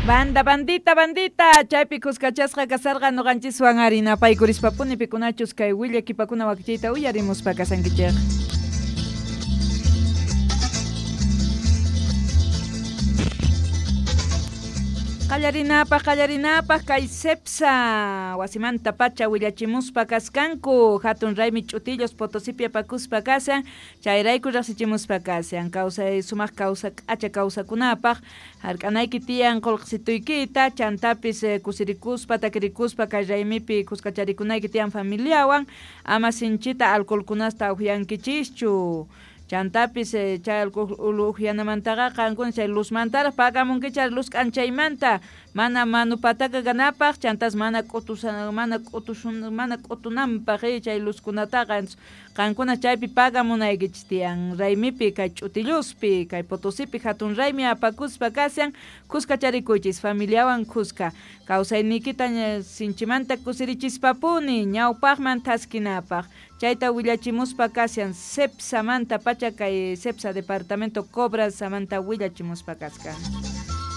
Banda, bandita, bandita, chaypi kuskachasqa kasarqa noqanchiswan ari napaykurispa-puni pikunachus kay willakipakuna wakichiyta uyarimuspa kasankichej. Qallarinapaj, qallarinapaj kay Cepsa wasimanta pacha willachimuspa kaskanku hatun raymi ch'utillos Potosipi apakuspa kashan chayrayku riqsichimuspa kashan kawsay sumaq kawsa k'acha kawsakunapaj hark'anayki tiyan qullqisituykita chantapis kusirikuspa takirikuspa kay raymipi kuskacharikunayki tiyan familiawan ama sinchita alcoholkunasta uqyankichischu chantapis chay alcohol uqyanamantaqa qankuna chay luzmantaraq pagamunkichik luz k'anchaymanta mana manu pataka kanapaq chantas mana k'utusa mana k'utusun mana k'utunanpaq chay luzkunataqa qankuna chaypi pagamunaykichis tiyan raymipi kay ch'utilluspi kay Potosipi hatun raymi apakuspa kashan kuskacharikuychis familiawan kuska kawsayniykita sinchimanta kusirichispapuni ñawpaqman thaskinapaq chayta willachimuspa kashan Cepsamanta pacha kay Cepsa departamento Cobra samanta willachimuspa kaskan.